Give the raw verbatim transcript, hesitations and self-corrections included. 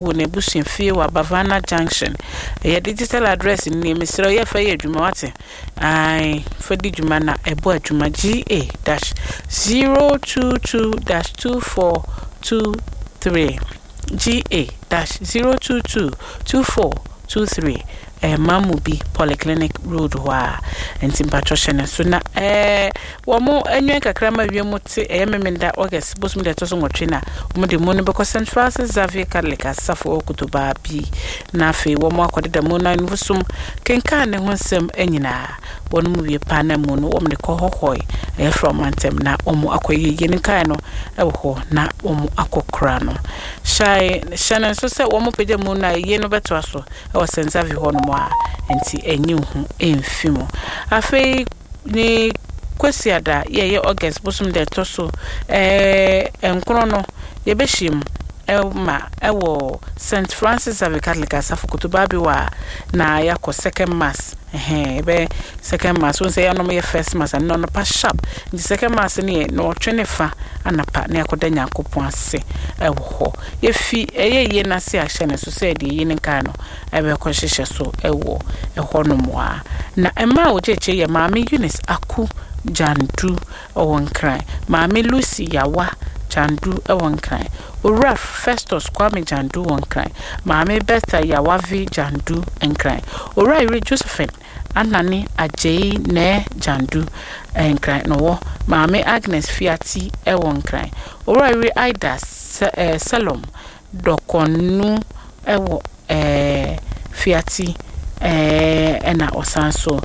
Wɔ n'abusuafie wɔ Abavana Junction. Ɛyɛ digital address nie. Mesrɛ, yɛ fa yɛ adwuma, wate? Ae, fa di dwuma na ɛbɔ adwuma. G A dash zero two two dash two four two three, G A dash zero two two two four two three. Ɛyɛ Mamobi Polyclinic Road hɔ a, nti mpatwɔ hyɛ ne so na ɛɛ wɔn anwɛn kakra ma wiem te. Ɛyɛ Memenda, August bosom deɛ ɛtɔ so nwɔtwe, na wɔn de mu no bɛkɔ Saint Francis Xavier Catholic asafo wɔ Kotobaa bi, na afei wɔn akɔdeda mu na nfosom kenkan ne ho nsɛm nyinaa. Wɔn mu wie paa na mu no wɔn de kɔ hɔhɔe, ɛyɛ fra wɔn antɛm na wɔn akɔ yie ne nkae no ɛwɔ hɔ na wɔn akɔ kora no. Hyɛ hyɛ no nso sɛ wɔn pagya mu no a, yie no bɛtoa so ɛwɔ Saint Xavier hɔ nom a, nti ɛnyi ho ɛmfi mu. Afei ne Kwasiada, yɛyɛ August bosom deɛ ɛtɔ so ɛɛ nkron no, yɛbɛhyia mu ɛma ɛwɔ Saint Francis Xavier Catholic asafo Kotobaabi wɔ a, na yɛakɔ second mass. Ɛhɛn, yɛbɛ second mass wɔn sɛ yɛanom yɛ first mass ano anɔpa sharp, nti second mass no yɛ na ɔtwe ne fa anapa na yɛakɔda Nyankopɔn ase ɛwɔ hɔ. Yɛfi ɛyɛ yie n'ase ahyɛ ne so sɛ deɛ yie ne nkae no ɛbɛkɔ hyehyɛ so ɛwɔ ɛhɔnom a. Na mmaa a wɔgye akyire yɛ Maame Eunice Aku Gyandu ɛwɔ Nkran, Maame Lucy Yawa Gyandu ɛwɔ Nkran, Owura Festus Kwame Gyandu wɔ Nkran, Maame Bertha Yawavi Gyandu Nkran, Owura Yere Josephine Anane Agyei Nɛɛ Gyandu Nkran na ɔwɔ, Maame Agnes Fiati ɛwɔ Nkran, Owura Yere Aida Selom Dɔkɔnu ɛwɔ ɛɛ Fiati ɛɛ ɛna ɔsan so.